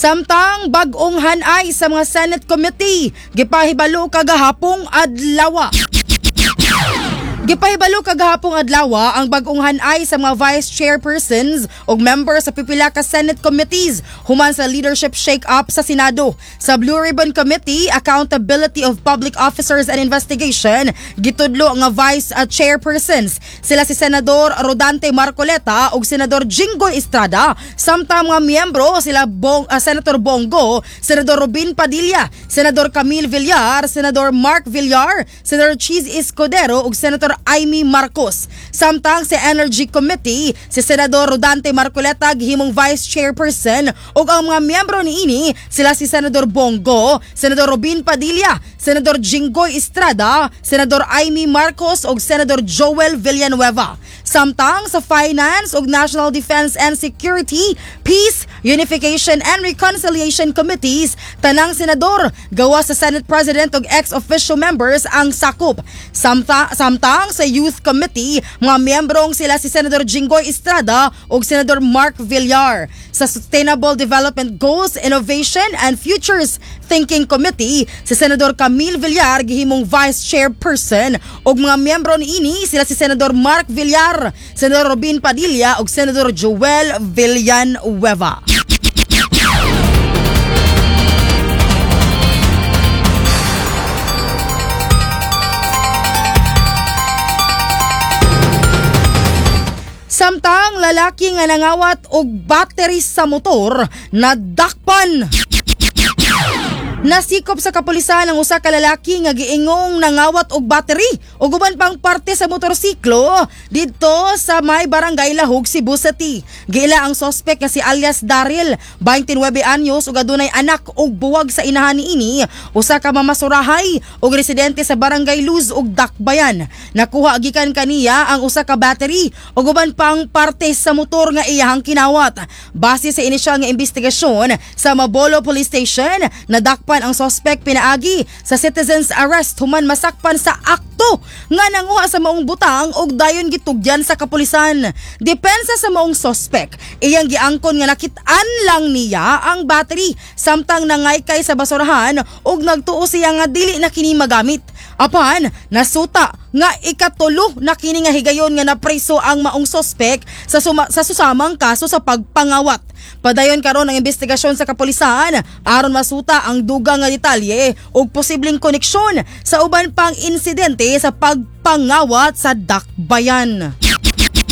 Samtang bag-ong hanay sa mga Senate Committee gipahibalo kagahapong adlaw. Gipahibalo kagahapong adlaw ang bag-ong hanay sa mga vice chairpersons ug member sa pipila ka Senate committees human sa leadership shake-up sa Senado. Sa Blue Ribbon Committee, Accountability of Public Officers and Investigation, gitudlo nga vice chairpersons sila si Senador Rodante Marcoleta ug Senador Jinggoy Estrada, samtang mga miyembro sila Senator Bong Go, Senador Robin Padilla, Senador Camille Villar, Senador Mark Villar, Senador Chiz Escudero ug Senator Imee Marcos. Samtang sa Energy Committee, si Senador Rodante Marcoleta gihimong vice chairperson ug ang mga miyembro niini sila si Senador Bong Go, Senador Robin Padilla, Senador Jinggoy Estrada, Senador Imee Marcos ug Senador Joel Villanueva. Samtang sa Finance ug National Defense and Security, Peace, Unification and Reconciliation Committees, tanang senador gawa sa Senate President ug ex-officio members ang sakop. Samtang sa Youth Committee, mga miyembrong sila si Senador Jinggoy Estrada ug Senador Mark Villar. Sa Sustainable Development Goals, Innovation and Futures Thinking Committee, si Senador Camille Villar gihimong Vice Chairperson ug mga miyembro niini sila si Senador Mark Villar, Senador Robin Padilla ug Senador Joel Villanueva. Samtang lalaki nga nangawat og battery sa motor nadakpan. Nasikop sa kapulisan ang usa ka lalaki nga giingong nangawat og battery ug uban pang parte sa motorsiklo didto sa may barangay Lahug, Cebu City. Giila ang sospek nga si alias Daryl, 29 anyos ug adunay anak ug buwag sa inahan niini, usa ka mamasurahay ug residente sa barangay Luz ug Dakbayan. Nakuha gikan kaniya ang usa ka battery ug uban pang parte sa motor nga iyahang kinawat. Base sa inisyal nga investigasyon sa Mabolo Police Station, nadakpan ang sospek pinaagi sa citizens arrest human masakpan sa akto nga nanguha sa maong butang ug dayon gitugyan sa kapulisan. Depensa sa maong sospek, iyang giangkon nga nakit-an lang niya ang battery samtang nangaykay sa basurahan ug nagtuo siya nga dili na kini magamit. Apan nasuta nga ikatulo na kini nga higayon nga napreso ang maong sospek sa susamang kaso sa pagpangawat. Padayon karon ang investigasyon sa kapulisan aron masuta ang dugang nga detalye ug posibleng koneksyon sa uban pang insidente sa pagpangawat sa Dakbayan.